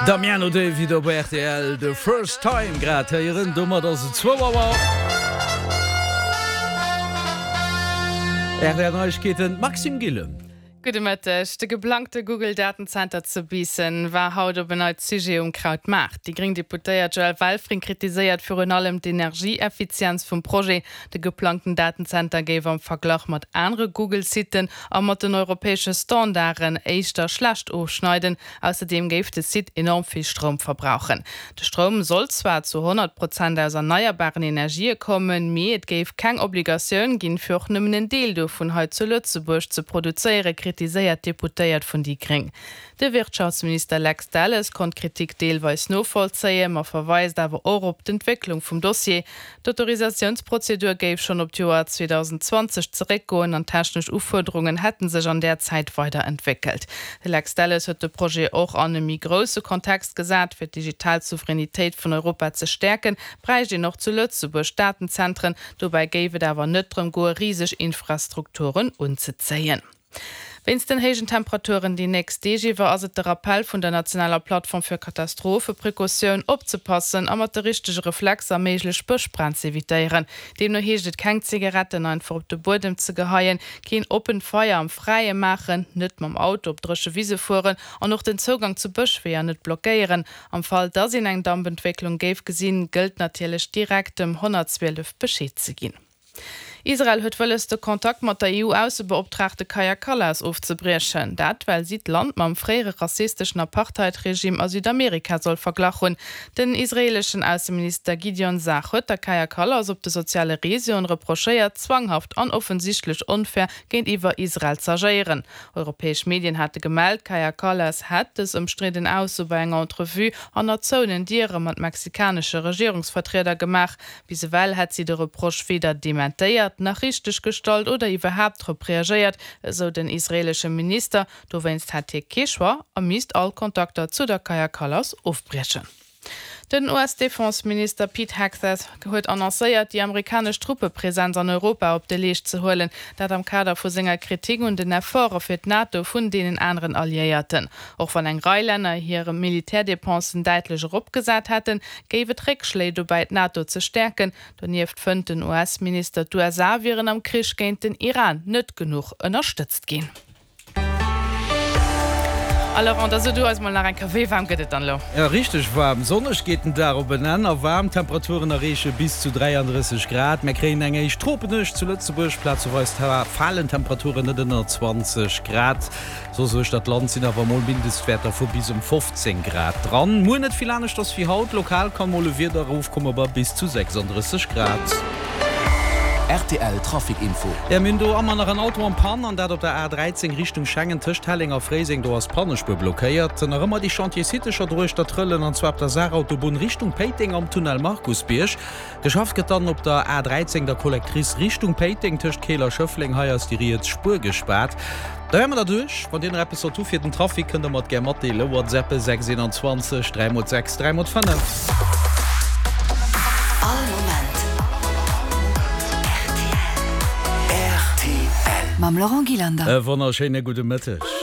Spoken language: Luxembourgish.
Damiano David op rtl, The First Time grad héieren. Domat ass et zwou Auer. Rtl Neiegkeeten, Maxime Gillen. Gudde Mëtteg. De geplangte Google-Datenzenter zu Biissen war haut op en Neits Sujet um Krautmaart. Déi gréng Deputéiert Joëlle Welfring kritiséiert virun allem d'Energieeffizienz vum Projet. De geplangten Datenzenter géif am Verglach mat anere Google-Siten a mat den europäesche Standarden éischter schlecht ofschneiden. Ausserdeem géif de Site enorm vill Stroum verbrauchen. De Stroum soll zwar zu 100 Prozent aus erneierbaren Energië kommen, mee et géif keng Obligatioun ginn, fir och nëmmen en Deel dovun hei zu Lëtzebuerg ze produzéieren, kritiséiert d'Deputéiert vun déi gréng. De Wirtschaftsminister Lex Delles konnt d'Kritik deelweis novollzéien, ma verweist awer och op d'Entwécklung vum Dossier. D'Autorisatiounsprozedur géif schonn op d'Joer 2020 zeréckgoen an d'technesch Ufuerderungen hätte sech an där Zäit weider entwéckelt. De Lex Delles huet de Projet och an e méi grousse Kontext gesat. Fir d'digital Souveränitéit vun Europa ze stäerken, bräicht een och zu Lëtzebuerg Datenzentren. Dobäi géif et awer net drëm goe riseg Infrastrukturen unzezéien. Wéinst den héijen Temperaturen déi nächst Deeg iwwer ass et de Rappell vun der nationaler Plattform fir Katastropheprecautioun, opzepassen a mat de richtege Reflexer méiglech Bëschbränn z'evitéieren. Deemno heescht et keng Zigaretten einfach op de Buedem ze geheien, keen oppent Feier am Fräie maachen, net mam Auto op dréche Wise fueren an och den Zougang zu Bëschweeër net blockéieren. Am Fall dass een eng Dampentwécklung géif gesinn, gëllt natierlech direkt dem 112 Bescheed ze ginn. Israel huet wëlles, de Kontakt mat der EU-Aussebeoptraagte Kaja Kallas ofzebriechen. Dat, well si d'Land mam fréiere rassisteschen Apartheid-Regime a Südamerika soll verglach hunn. Den israeeleschen Ausseminister Gideon Saar huet der Kaja Kallas op de soziale Reseauen reprochéiert, zwanghaft an offensichtlech onfair géintiwwer Israel z'agéieren. Europäesch Medien hate gemellt, d'Kaja Kallas hätt dës ëmstridden Ausso bei enger Entrevue hanner zouenen Diere mat mexikanesche Regierungsvertrieder gemaach. Bis ewell hätt si de Reproche weder dementéiert, nach richteg gestallt oder iwwerhaapt drop reagéiert, esou den israeelesche Minister. Dowéinst hätt hie kee Choix a misst all Kontakter zu der Kaja Kallas ofbriechen. Den US-Defense-Minister Pete Hegseth huet annoncéiert, déi amerikanesch Truppepresenz an Europa op de Leescht ze huelen. Dat am Kader vu senger Kritik un den Efforte fir d'NATO vun deenen aneren Alliéierten. Och wann eng Rei Länner hir Militärdépensen däitlech eropgesat hätten, géif et Réckschléi dobäi d'NATO ze stäerken. Donieft fënnt den US-Minister, d'USA wieren am Krich géint den Iran net genuch ënnerstëtzt ginn. A Laurent, da so du eis mol nach eng Kéier, wéi waarm gëtt et dann elo? Jo, richteg waarm. Sonneg geet den Dag op en Enn a waarm Temperaturen erreeche bis zu 33 Grad. Mär kréien eng éischt Tropenuecht zu Lëtzebuerg, plazeweis falen d'Temperaturen net ënner 20 Grad. Soss uechter d'Land sinn awer mol Mindestwäerter vu bis ëm 15 Grad dran. Muer net vill aneschters wéi haut, lokal kann mol e Wieder erofkomme bei bis zu 36 Grad. Rtl Trafic Info. Jo, mir hunn do ëmmer nach en Auto en Panne, an dat op der A 13 Richtung Schengen tëscht Helleng a Fréiseng. Do ass d'Pannespuer blockéiert. Nach ëmmer déi Chantier-Sittecher druechter Trëllen, an zwar op der Saarautobunn Richtung Péiteng am Tunnel Markusbierg. Geschafft gëtt dann op der A 13, der Collectrice Richtung Péiteng tëscht Keel a Schëffleng. Hei ass déi riets Spuer gespaart. Da wäre mer der duerch. Wann Dir nach eppes sollt hu fir den Trafic, kënnt der mer et gär matdeelen. WhatsAppe 6 21 3 mol 6 3 mol 5. All Moment rtl. Mam Laurent Gillander. E wonnerschéine gudde Mëtteg.